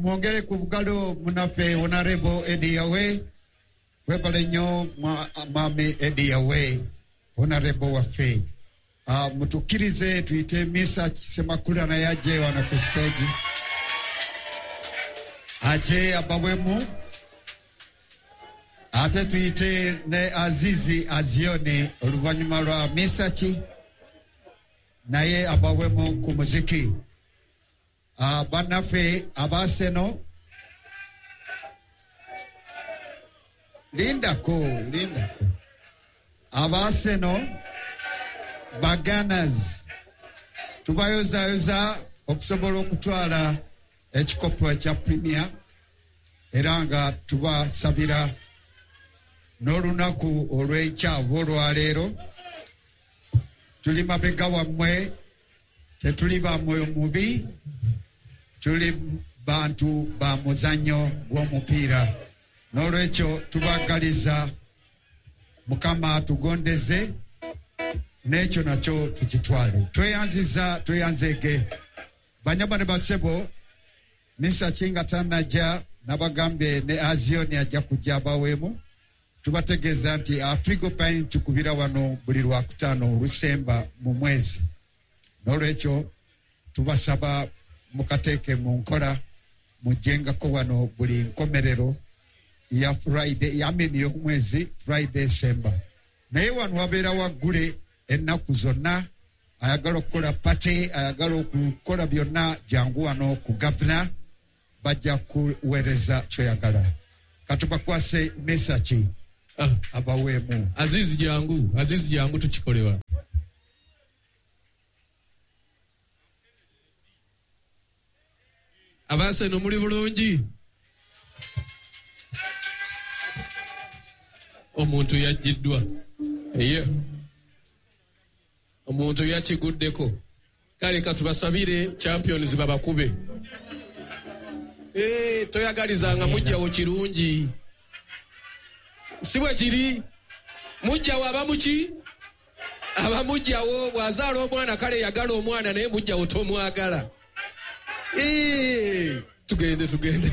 Mwongere ku bugalo munaffe Honorable Eddie Yawe. Webale nnyo Mwami Eddie Yawe, Honorable waffe. Mutukkirize tuyite Misa Semakula naye ajje wano ku stage, aje abawemu, ate tuyite ne Azizi Azioni oluvannyuma lwa Misaki naye abawemu ku muziki. Bannaffe abaseno, lindako lindako, abaseno baganas tubayozayoza okusobola okutwala ekikopo ekya Premier, era nga tubasabira n'olunaku olw'enkya oba olwaleero. Tuli mabega wammwe, tetuli ba mwoyo mubi, tuli bantu ba muzannyo gw'omupiira. N'olwekyo tubagaliza Mukama atugondeze n'ekyo nakyo tukitwale. Tweyanziza, tweyanzeege banyama ne basebo. Misaki nga tannajja, nabagambye ne Azioni ajja kujja abaweemu. Tubategeeza nti Afrigo Pine tukubira wano buli Lwakutaano olusemba mu mwezi. N'olwekyo tubasaba mukateeke mu nkola, mujjengako wano buli nkomerero ya Friday, yamini y'omwezi, Friday esemba. Naye wano wabeera waggule ennaku zonna. Ayagala okukola party, ayagala okukola byonna, jangu wano ku Gavana, bajja kuweereza kyoyagala. Katubakwase Mesaki abaweemu. Azizi jangu, Azizi jangu tukikolewa. Abaseno muli bulungi? Omuntu yajjiddwa. Eyo. Omuntu yakiguddeko. Kale katubasabire champions babakube. Toyagalizanga mujjawo kirungi. Si bwe kiri? Mujjawo aba muki? Aba mujjawo bw'azaala omwana, kale yagala omwana naye mujjawo tomwagala. Tugende tugende.